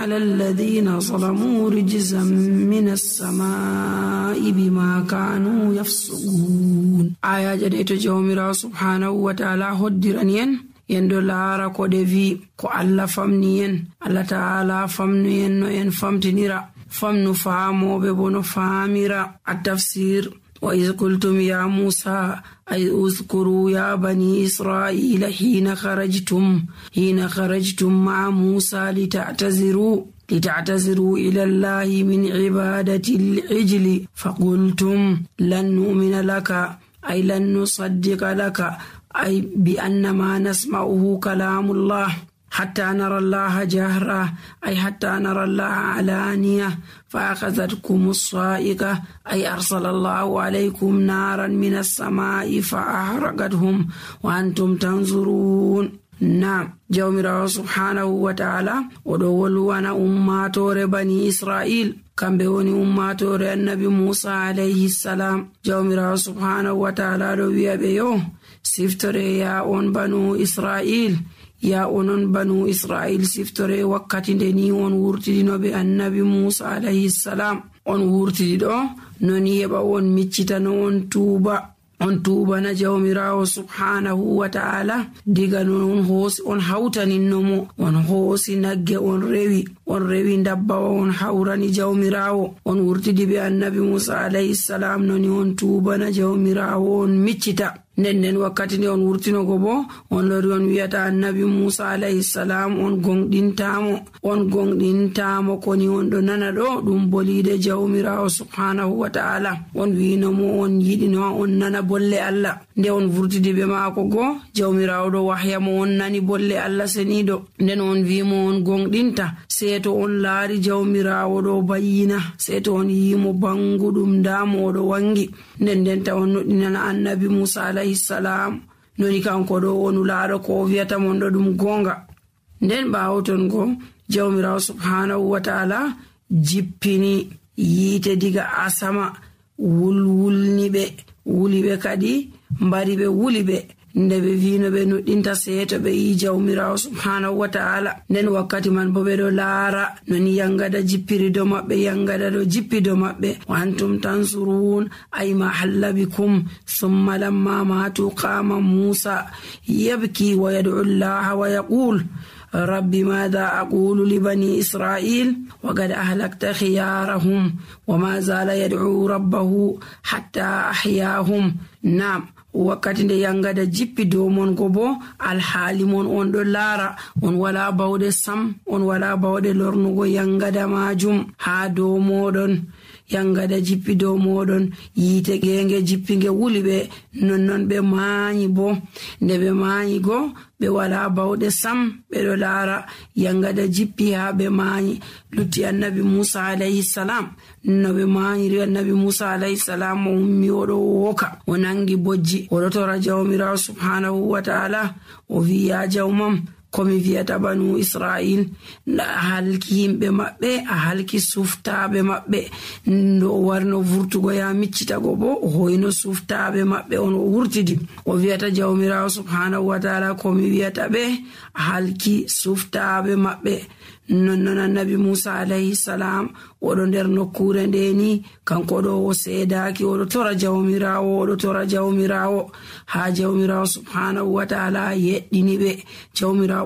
على الذين ظلموا رجزا من السماء بما كانوا يفسقون. آية جديدة جومرا سبحانه وتعالى هدرانيا yendo laara ko de vi ko Allah famni en, Allah ta'ala famnu en no en famtinira, famnu faamoɓe bo no faamira. At-tafsir: wa iz qultum ya Musa ay uzkuru ya bani Israila hina kharajtum ma'a Musa لتعتذروا إلى الله من عبادة العجل فقلتم لن نؤمن لك أي لن نصدق لك أي بأن ما نسمعه كلام الله حتى نرى الله جهرا أي حتى نرى الله علانية فأخذتكم الصاعقة أي أرسل الله عليكم نارا من السماء فأحرقتهم وأنتم تنظرون. نعم، جومرا سبحانه وتعالى ودولوانا أماتور بني إسرائيل kambe woni ummatore annabi Musa alayhi salam. Jawmirawo subhanahu wa ta'ala do wi'abe yo siftore ya on banu Israil, ya onon banu Israil siftore wakkati nde ni on wurtidino be annabi Musa alayhi salam. On wurtidi do noni heba on miccita no on tuuba na jawmirawo subhanahu wa ta'ala diga non on hawtaninnomo, on hoosi nagge on rewi ndabbawa on hawrani jawmirawo, on wurtidi be annabi Musa alayhi salam noni on tuuba na jawmirawo on miccita. Nden wakkati nde on wurtinogo bo on lori on wiyata annabi Musa alayhi salam on gonɗintamo koni on ɗo nana ɗo ɗum bolide jawmirawo subhanahu wa ta'ala. On winomo on yiɗino on nana bolle Allah. Nde on wurtidi be maako go jawmirawo ɗo wahyamo on nani bolle Allah seniɗo. Nden on wimo on gonɗinta seeto on laari jawmirawo ɗo bayyina, seeto on yimo banguɗum ndamo oɗo wangi. Nden ta on noɗinana annabi Musa alayhi salam noni kanko ɗo wonu laaro ko wiyata mon ɗo ɗum gonga. Nden ɓawo ton go jawmirawo subhanahu wa ta'ala jippini yiite diga asama wuliɓe kadi mbari ɓe wuliɓe nde ɓe vino ɓe nuɗɗinta seeto ɓe yi jawmirawo subhanahu wa ta'ala. Nden wakkati man bo ɓe ɗo laara noni yangada jippiri do maɓɓe, yangada ɗo jippi do maɓɓe. wa antum tansurun ay ma halla bikum thumma lamma matu qama Musa yabki wa yad'u Allah wa yaqul rabbi madha aqulu li bani Israil wa qad ahlakta khiyarahum wa ma zala yad'u rabbahu hatta ahyahum. Naam, wakkati nde yangada jippi dow mon go bo alhaali mon on ɗo laara, on wala bawɗe sam, on wala bawɗe lornugo yangada majum ha dow moɗon. Yangada jippi dow moɗon, yiite genge jippi nge wuli ɓe, nonnon ɓe maanyi bo. Nde ɓe maanyi go ɓe wala bawɗe sam, ɓe ɗo laara yangada jippi ha ɓe maanyi. Lutti annabi Musa alayhi salam no ɓe maanyiri annabi Musa alayhi salam o ummi oɗo woka, o nangi bojji, oɗo tora jawmirawo subhanahu wa ta'ala o wi ya jawmam komi wiyata banu Israil a halki yimɓe maɓɓe, a halki suftaɓe maɓɓe. Ndo o warno vurtugo ya miccitago bo o hoyno suftaɓe maɓɓe on o wurtidi o wiyata jawmirawo subhanahu wa ta'ala komi wiyata ɓe a halki suftaɓe maɓɓe. Nonnon annabi Musa alayhi salam oɗo nder nokkure ndeni kanko ɗo o seedaki oɗo tora jawmirawo ha jawmirawo subhanahu wa ta'ala yeɗɗini ɓe. Jawmirawo